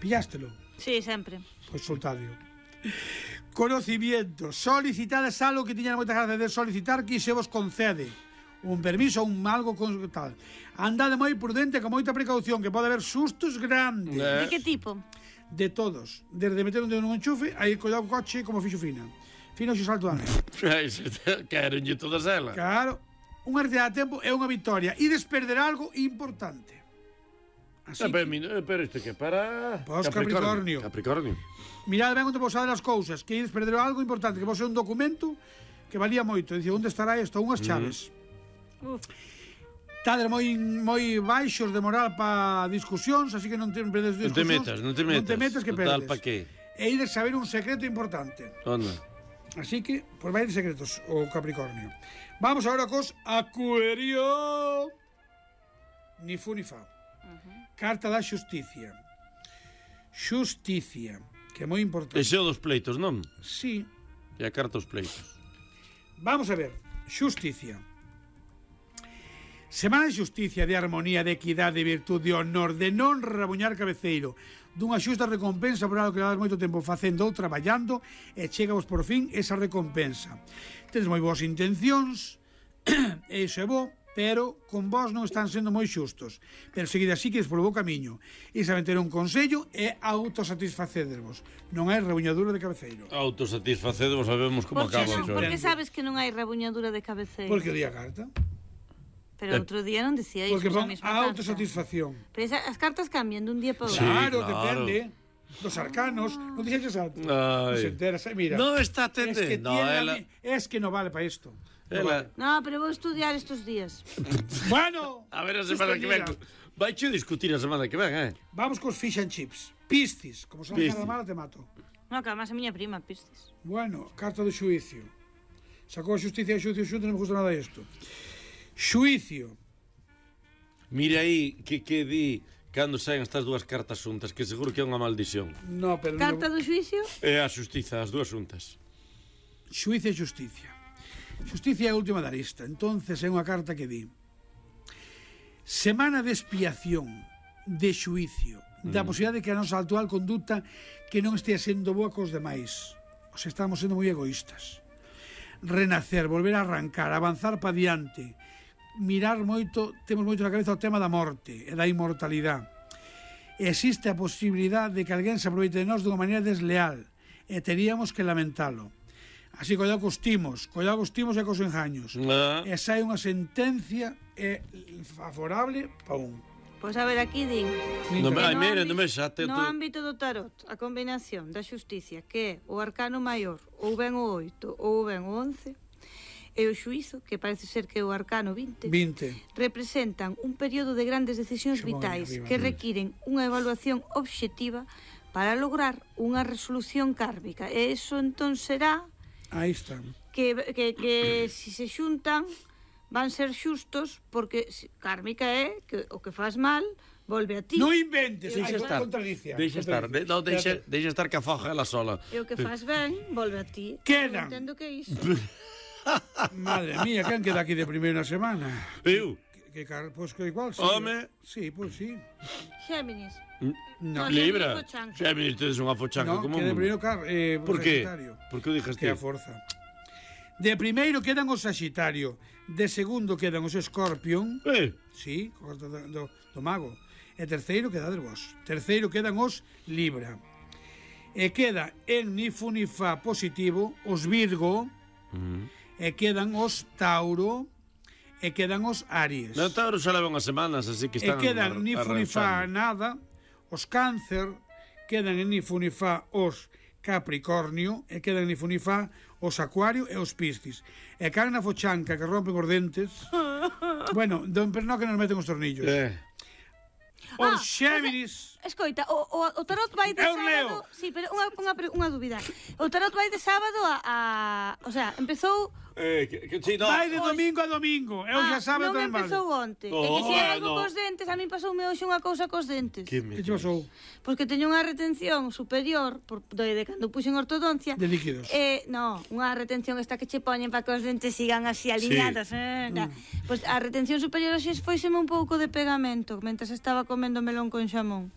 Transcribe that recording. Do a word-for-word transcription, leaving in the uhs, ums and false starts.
Pillástelo? Sí, sempre. Pois soltadio. Conocimiento. Solicitades algo que tiñan moita gracia de solicitar que se vos concede. Un permiso, un algo con tal. Andade moi prudente, con moita precaución, que pode haber sustos grandes. De que tipo? De todos. Desde meter un dedo nun enchufe, aí collado o coche como fixo Fina. Fina xe salto a neve. Querenlle todas elas. Claro. Unha retirada a tempo é unha victoria. E desperder algo importante. Así Ah, pero, que, mi- eh, pero isto que para... Pos Capricornio. Capricornio. mirad ben onde vos saben as cousas, que ides perder algo importante, que vos é un documento que valía moito. Dice, onde estará isto? Unhas chaves. Uf. Tades moi moi baixos de moral para discusións, así que non te perdes Non te discusións. metas, non te metas. Non te metas que Total, perdes. pa que? E ides saber un secreto importante. Onda. Así que, pois vai de secretos o Capricornio. Vamos agora cos Acuario. Ni fu ni fa. Carta da xusticia. Xusticia, que é moi importante. Ese é o dos pleitos, non? Sí. E a carta dos pleitos. Vamos a ver. Xusticia. Semana de xusticia, de armonía, de equidade, de virtude, de honor, de non rabuñar cabeceiro, dunha xusta recompensa por algo que levas moito tempo facendo ou traballando e chegavos por fin esa recompensa. Tedes moi boas intencións, e iso é bo, pero con vos non están sendo moi xustos. Pero seguide así que es polo bo camiño. E saben ter un consello e autosatisfacedervos. Non hai rabuñadura de cabeceiro. Autosatisfacedemos, sabemos como Por que, acaba. non, Xo. por que sabes que non hai rabuñadura de cabeceiro? Porque o día carta. Pero outro día non dicía iso, Porque esa van mesma a carta. autosatisfacción. Pero esa, as cartas cambian dun día para outro. Sí, Claro, claro. depende dos arcanos. Non dixeches alto. Ai. Non se enteras, eh, mira. No está Es que, atendendo. tiene ela... a mi- es que no vale para esto. No Ela... vale. No, pero vou estudiar estos días. Bueno, A ver a semana que ven. Vai che discutir a semana que ven, eh? vamos cos fish and chips. Piscis, como son Piscis. cada mala te mato. No, que además a miña prima, pistes. Bueno, carta de xuicio. Sacou a justicia e xuicio xunto, non me gusta nada isto. Xuicio. Mira aí que, que di cando saen estas dúas cartas xuntas, que seguro que é unha maldición. No, pero Carta non... do xuicio? É a xustiza, as dúas xuntas. Xuicio e justicia. Justicia é a última da lista. Entonces é unha carta que di: semana de expiación, de xuicio, da Mm. posibilidade de que a nosa actual conduta que non estea sendo boa cos demais. O sea, estamos sendo moi egoístas. Renacer, volver a arrancar, avanzar pa diante, mirar moito, temos moito na cabeza o tema da morte e da inmortalidade. Existe a posibilidade de que alguén se aproveite de nós dunha maneira desleal e teríamos que lamentalo. Así, collado cos timos, collado cos timos e cos engaños. Ah. E sai unha sentencia e favorable pa un. Pois a ver, aquí din No, que ai, no mira, ámbito- non me xa te... no ámbito do tarot, a combinación da xusticia, que é o arcano maior, ou ben o oito, ou ben o once, e o xuízo, que parece ser que é o arcano vinte, vinte. representan un período de grandes decisións Xo, vitais arriba. que requiren unha evaluación obxectiva para lograr unha resolución kármica. E iso entón será Aí están. que, que, que si se xuntan van ser xustos, porque si- kármica é que o que faz mal volve a ti. Non inventes, Deixa hai estar, contradicia. deixa estar, de, no, deixa, deixa estar que afoja ela sola. E o que faz ben volve a ti. Quedan. Non entendo que é iso. Madre mía, quen queda aquí de primeira semana? Eu? Que, que car... Pois que igual, sí. Home. Sí, pois sí. Géminis. No, No, Libra. Géminis fochanca. Géminis, tedes unha fochanca no como que de un... primeiro car... Eh, Por que? Sagitario. Por que o dixas Que ti? a forza. De primeiro quedan os Sagitario, de segundo quedan os Scorpion, Eh, sí, co carta do, do, do mago, e terceiro quedades vos. Terceiro quedan os Libra. E queda en ni fu ni fa positivo os Virgo, e quedan os Tauro, e quedan os Aries. non Tauro xa leva unhas semanas, así que E están quedan ni fu ni fa arranxando. nada, os Cáncer, quedan en ni fu ni fa os Capricornio, e quedan ni fu ni fa os Acuario e os Piscis. E caen na fochanca que rompen os dentes. Bueno, don Pernó que nos meten os tornillos. Eh. Os Ah, Xéminis. Escoita, o, o, o tarot vai de Eu sábado... leo. Sí, pero unha, unha, pre- unha dúbida. O tarot vai de sábado a... a o sea, empezou... Eh, que, que, sí, no. Vai de domingo a domingo. Eu xa sabe non tamén vale. empezou onte. Oh, e que se ah, algo no. cos dentes, a min pasoume hoxe unha cousa cos dentes. Que me Que che pasou? Pois que teño unha retención superior por de, de cando puxen ortodoncia. De líquidos. Eh, no, unha retención esta que che poñen para que os dentes sigan así alineados, sí. eh, mm. Pois a retención superior hoxe foiseme un pouco de pegamento, mentras estaba comendo melón con xamón.